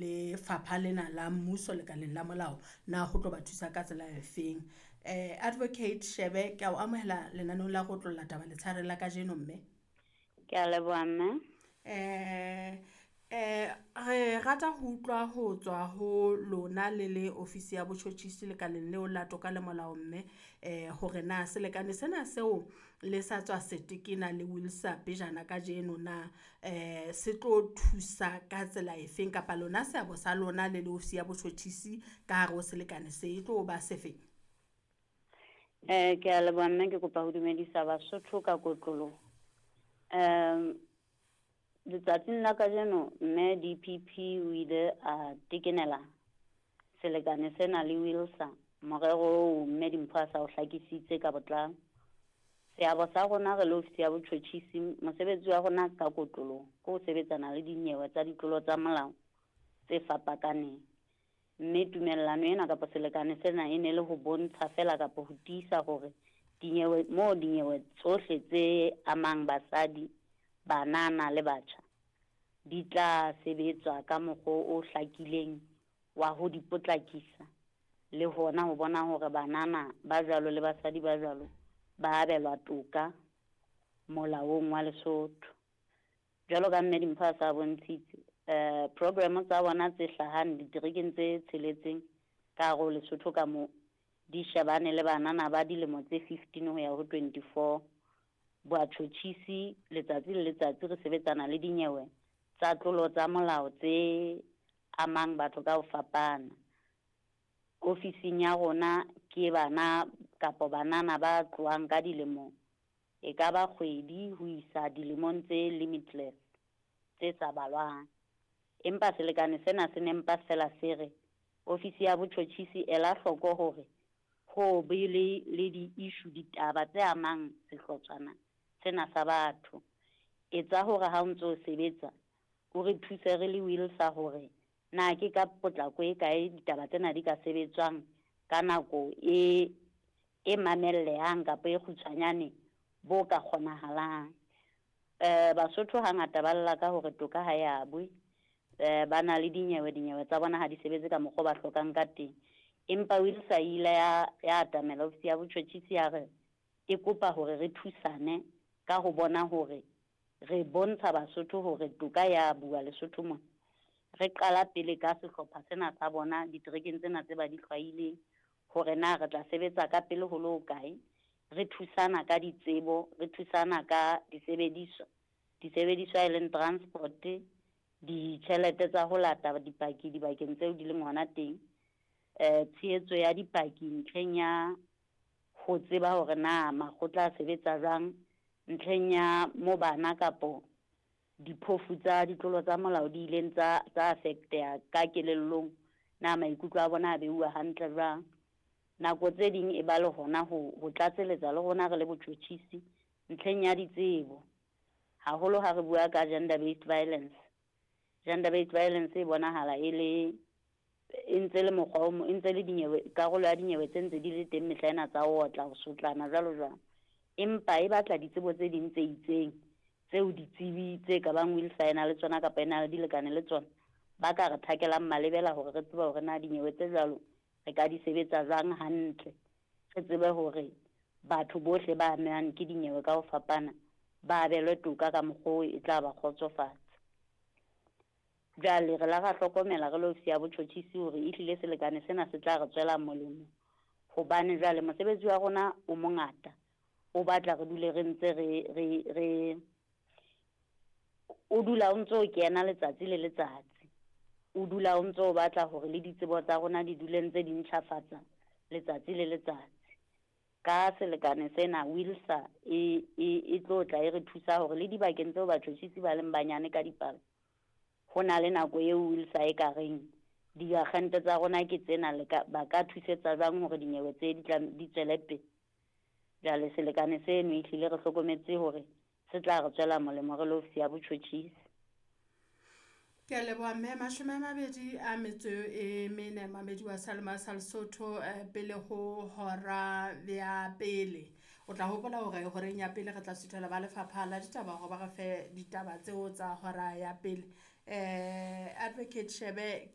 Lefapha lena la mmuso lekaleng la molao na ho tlo ba thusa ka tsela efeng. Advocate Shebe ke a o amohela lenaneong la go otlolla taba letshareng la kajeno mme. Ke a leboha mme. Re rata ho utlwa ho tswa ho lona le le ofisi ya botjhotjhisi lekaleng leo la toka le molao mme, hore na selekane sena seo le sa tswa se tekena le WILSA pejana kajeno na, se tlo thusa ka tsela efeng kapa lona seabo sa lona le le ofisi ya botjhotjhisi ka hare ho selekane se e tlo ba se feng? Ke a leboha mme, ke kopa ho dumedisa Basotho ka kotloloho. Letsatsing la kajeno mme DPP o ile a tekenela selekane sena le WILSA, morero oo mme Dimpho a sa o hlakisitse ka botlalo. Seabo sa rona re le ofisi ya botjhotjhisi, mosebetsi wa rona ka kotloloho ke ho sebetsana le dinyewe tsa ditlolo tsa molao tse fapakaneng. Mme tumellano ena kapa selekane sena e ne le ho bontsha fela kapa ho tiisa hore dinyewe moo dinyewe tsohle tse amang basadi, banana le batjha di tla sebetswa ka mokgwa o hlakileng wa ho di potlakisa, le hona ho bona hore banana ba jwalo le basadi ba jwalo ba abelwa toka molaong wa Lesotho. Jwalo ka mme Dimpho a sa bontshitse, program tsa bona tse hlahang diterekeng tse tsheletseng ka hare ho Lesotho ka moo di shebane le banana ba dilemo tse 15 ho ya ho 24. Batjhotjhisi letsatsi le letsatsi re sebetsana le dinyewe tsa tlolo tsa molao tse amang batho ka ho fapana. Ofising ya rona ke bana kapa banana ba tlohang ka dilemo e ka ba kgwedi ho isa dilemong tse limitless, tse sa balwang. Empa selekane sena se ne mpa fela se re ofisi ya botjhotjhisi ela hloko hore ho be le di-issue, ditaba tse amang sehlotshwana sena sa batho. Etsa hore ha o ntso sebetsa o re thuse re le WILSA hore na ke ka potlako e kae ditaba tsena di ka sebetswang ka nako e mamellehang kapa e kgutshwanyane bo ka kgonahalang. Basotho hangata ba lla ka hore toka ha ya bue, ba na le dinyewe, dinyewe tsa bona ha di sebetse ka mokgwa o ba hlokang ka teng. Empa WILSA ile ya atamela ofisi ya botjhotjhisi ya re e kopa hore re thusane ka ho bona hore re bontsha Basotho hore toka ya bua Lesotho mona. Re qala pele ka sehlopha sena sa bona diterekeng tsena tse ba di hlwaileng, hore na re tla sebetsa ka pele ho le hokae, re thusana ka ditsebo, re thusana ka disebediswa, disebediswa e leng transport, ditjhelete tsa ho lata dipaki dibakeng tseo di leng hona teng, tshehetso ya dipaki ntlheng ya ho tseba hore na makgotla a sebetsa jwang, ntlheng ya mo bana kapo diphofu tsa ditlolo tsa molao di ileng tsa affecteha ka kelellong, na maikutlo a bona a beuwa hantle jwang. Nako tse ding e ba le hona ho tlatseletsa le rona re le botjhotjhisi ntlheng ya ditsebo, haholo ha re bua ka gender based violence. Gender based violence e bonahala e le e ntse le mokgwa o e ntse le dinyewe, karolo ya dinyewe tse ntse di le teng mehla ena tsa ho otla, ho sotlana jwalo jwalo. Empa e batla ditsebo tse ding tse itseng tseo ditsebi tse ka bang WILSA e na le tsona kapa e na le dilekane le tsona, ba ka re thakelang malebela hore re tsebe hore na dinyewe tse jwalo re ka di sebetsa jwang hantle, re tsebe hore batho bohle ba amehang ke dinyewe ka ho fapana ba abelwe toka ka mokgwa oo e tla ba kgotsofatsa. Jwale re la ra hlokomela re le ofisi ya botjhotjhisi hore ehlile selekane sena se tla re tswela molemo, hobane jwale mosebetsi wa rona o mongata, o batla re dule re ntse re o dula o ntso kena letsatsi le letsatsi, o dula o ntso batla hore le ditsebo tsa rona di dule ntse di ntjhafatsa letsatsi le letsatsi. Ka selekane sena WILSA e tlo tla e re thusa hore le dibakeng tseo batjhotjhisi ba leng banyane ka dipalo, ho na le nako eo WILSA e ka reng diakgente tsa rona ke tsena, le ka ba ka thusetsa jwang hore dinyewe tse di tla di tswele pele. Jwale selekane seno ehlile re hlokometse hore se tla re tswela molemo re le ofisi ya botjhotjhisi. Ke a leboha mme, 24 mamedi wa Salema sa Lesotho, pele ho hora ya pele. O tla hopola hore horeng ya pele re tla suthela ba lefapha la ditaba hore ba re fe ditaba tseo tsa hora ya pele. Advocate Shebe.